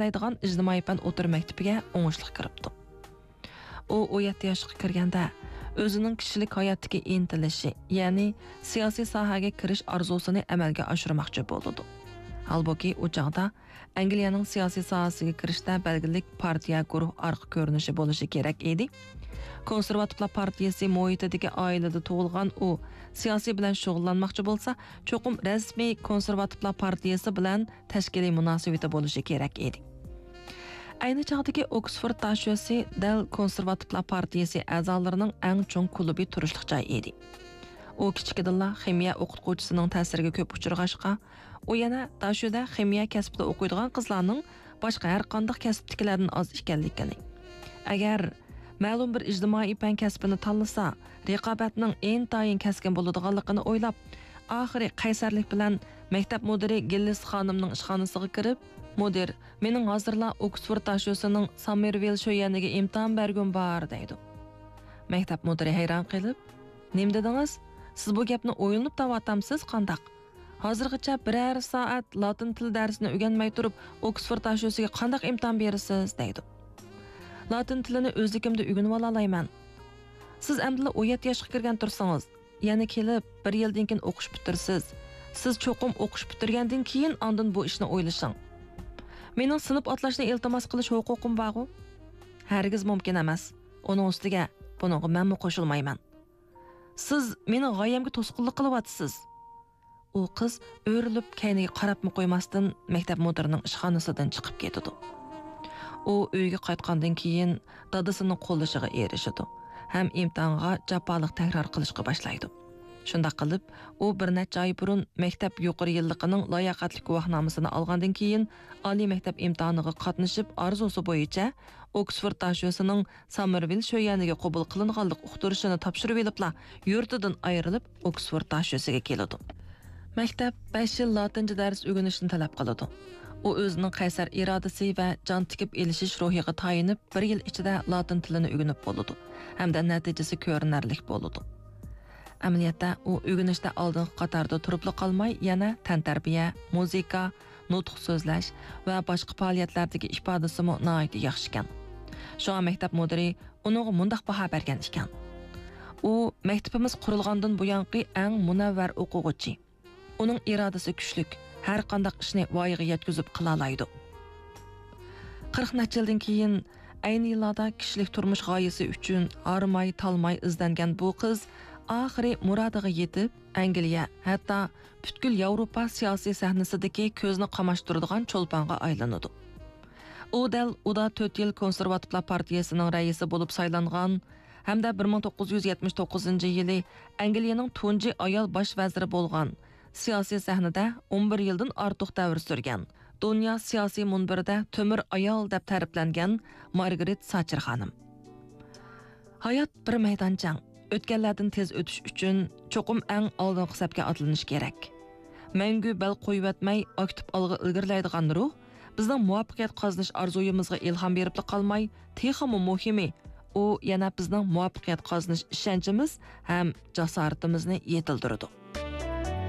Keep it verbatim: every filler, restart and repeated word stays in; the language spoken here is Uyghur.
ئىزدەيدىغان ئىجتىمائىي پەن ئوتتۇرا مەكتىپىگە ئوڭۇشلۇق كىرىپتۇ. ئۇ ئون يەتتە ياشقا كىرگەندە ئۆزىنىڭ كىشىلىك ھاياتتىكى ئىنتىلىشى، يەنى سىياسىي ساھەگە كىرىش ئارزۇسىنى ئەمەلگە ئاشۇرماقچى بولىدۇ. ھالبۇكى، ئۇ چاغدا ئەنگلىيەنىڭ سىياسىي ساھەسىگە كىرىشتە بەلگىلىك پارتىيە، گۇرۇھ ئارقا كۆرۈنۈشى بولۇشى كېرەك ئىدى. كونسېرۋاتىپلار پارتىيىسى مۇھىتىدىكى ئائىلىدە تۇغۇلغان ئۇ سىياسىي بىلەن شۇغۇللانماقچى بولسا، چوقۇم رەسمىي كونسېرۋاتىپلار پارتىيىسى بىلەن تەشكىلىي مۇناسىۋىتى بولۇشى كېرەك ئىدى. ئەينى چاغدىكى ئوكسفورد داشۆسى دەل كونسېرۋاتىپلار پارتىيىسى ئەزالىرىنىڭ ئەڭ چوڭ كۇلۇبى تۇرۇشلۇق جاي ئىدى. ئۇ كىچىكىدىنلا خىمىيە ئوقۇتقۇچىسىنىڭ تەسىرىگە كۆپ ئۇچرىغاچقا، ئۇ يەنە داشۆدە خىمىيە كەسپىدە ئوقۇيدىغان قىزلارنىڭ باشقا ھەر قانداق كەسىپتىكىلەردىن ئاز ئىكەنلىكىنى، ئەگەر مەلۇم بىر ئىجتىمائىي پەن كەسپىنى تاللىسا، رىقابەتنىڭ ئىنتايىن كەسكىن بولىدىغانلىقىنى ئويلاپ، ئاخىرى قەيسەرلىك بىلەن مەكتەپ مۇدىرى گىللىس خانىمنىڭ ئىشخانىسىغا كىرىپ، مۇدىر، مېنىڭ ھازىرلا ئوكسفورد داشۆسىنىڭ ساممېرۋىل شۆيەنىگە ئىمتىھان بەرگۈم بار، دەيدۇ. مەكتەپ مۇدىرى ھەيران قېلىپ، نېمە دېدىڭىز؟ سىز بۇ گەپنى ئويلىنىپ تاۋاتامسىز قانداق؟ ھازىرغىچە بىرەر سائەت لاتىن تىل دەرسىنى ئۆگەنمەي تۇرۇپ، ئوكسفورد داشۆسىگە قانداق ئىمتىھان بېرىسىز؟ دەيدۇ. لاتىن تىلىنى ئۆزلۈكۈمدە ئۆگىنىۋالالايمەن. سىز ئەمدىلا ئون يەتتە ياشقا كىرگەن تۇرسىڭىز، يەنە كېلىپ بىر يىلدىن كېيىن ئوقۇش پۈتتۈرىسىز. سىز چوقۇم ئوقۇش پۈتتۈرگەندىن كېيىن ئاندىن بۇ ئىشنى ئويلىشىڭ. مېنىڭ سىنىپ ئاتلاشنى ئىلتىماس قىلىش ھوقۇقۇم بارغۇ؟ ھەرگىز مۇمكىن ئەمەس. ئۇنىڭ ئۈستىگە بۇنىڭغا مەنمۇ قوشۇلمايمەن. سىز مېنىڭ غايەمگە توسقۇنلۇق قىلىۋاتىسىز. ئۇ قىز ئۆرۈلۈپ كەينىگە قاراپمۇ قويماستىن مەكتەپ مۇدىرىنىڭ ئىشخانىسىدىن چىقىپ كېتىدۇ. ئۇ ئۆيىگە قايتقاندىن كېيىن دادىسىنىڭ قوللىشىغا ئېرىشىدۇ ھەم ئىمتىھانغا جاپالىق تەكرار قىلىشقا باشلايدۇ. شۇنداق قىلىپ، ئۇ بىر نەچچە ئاي بۇرۇن مەكتەپ يۇقىرى يىللىقىنىڭ لاياقەتلىك گۇۋاھنامىسىنى ئالغاندىن كېيىن، ئالىي مەكتەپ ئىمتىھانىغا قاتنىشىپ، ئارزۇسى بويىچە ئوكسفورد داشۆسىنىڭ ساممېرۋىل شۆيەنىگە قوبۇل قىلىنغانلىق ئۇقتۇرۇشىنى تاپشۇرۇۋېلىپلا، يۇرتىدىن ئايرىلىپ، ئوكسفورد داشۆسىگە كېلىدۇ. مەكتەپ بەش يىل لاتىنچە دەرس ئۆگىنىشنى تەلەپ قىلىدۇ. ئۇ ئۆزىنىڭ قەيسەر ئىرادىسى ۋە جان تىكىپ ئېلىشىش روھىغا تايىنىپ، بىر يىل ئىچىدە لاتىن تىلىنى ئۆگىنىپ بولىدۇ ھەمدە نەتىجىسى كۆرۈنەرلىك بولىدۇ. ئەمەلىيەتتە، ئۇ ئۆگىنىشتە ئالدىنقى قاتاردا تۇرۇپلا قالماي، يەنە تەنتەربىيە، مۇزىكا، نۇتۇق سۆزلەش ۋە باشقا پائالىيەتلەردىكى ئىپادىسىمۇ ناھايىتى ياخشىكەن. شۇڭا مەكتەپ مۇدىرى ئۇنىڭغا مۇنداق باھا بەرگەن ئىكەن: «ئۇ مەكتىپىمىز قۇرۇلغاندىن بۇيانقى ئەڭ مۇنەۋۋەر ئوقۇغۇچى. ئۇنىڭ ئىرادىسى كۈچلۈك، ھەر قانداق ئىشنى ۋايىغا يەتكۈزۈپ قىلالايدۇ.» قىرىق نەچچە يىلدىن كېيىن، ئەينى يىللاردا كىشىلىك تۇرمۇش غايىسى ئۈچۈن ھارماي-تالماي ئىزدەنگەن بۇ قىز ئاخىرى مۇرادىغا يېتىپ، ئەنگلىيە، ھەتتا پۈتكۈل ياۋروپا سىياسىي سەھنىسىدىكى كۆزنى قاماشتۇرىدىغان چولپانغا ئايلىنىدۇ. ئۇ دەل ئۇدا تۆت يىل كونسېرۋاتىپلار پارتىيىسىنىڭ رەئىسى بولۇپ سايلانغان ھەمدە بىر مىڭ توققۇز يۈز يەتمىش توققۇزىنچى يىلى ئەنگلىيەنىڭ تۇنجى ئايال باش ۋەزىرى بولغان، سىياسىي سەھنىدە ئون بىر يىلدىن ئارتۇق دەۋر سۈرگەن، دۇنيا سىياسىي مۇنبىرىدە تۆمۈر ئايال دەپ تەرىپلەنگەن مارگرېت ساتچېر خانىم. ھايات بىر مەيدان جەڭ. ئۆتكەنلەردىن تېز ئۆتۈش ئۈچۈن چوقۇم ئەڭ ئالدىنقى سەپكە ئاتلىنىش كېرەك. مەڭگۈ بەل قويۇۋەتمەي، ئاكتىپ ئالغا ئىلگىرىلەيدىغان روھ بىزنىڭ مۇۋەپپەقىيەت قازىنىش ئارزۇيىمىزغا ئىلھام بېرىپلا قالماي، تېخىمۇ مۇھىمى، ئۇ يەنە بىزنىڭ مۇۋەپپەقىيەت قازىنىش ئىشەنچىمىز ھەم جاسارىتىمىزنى يېتىلدۈرىدۇ.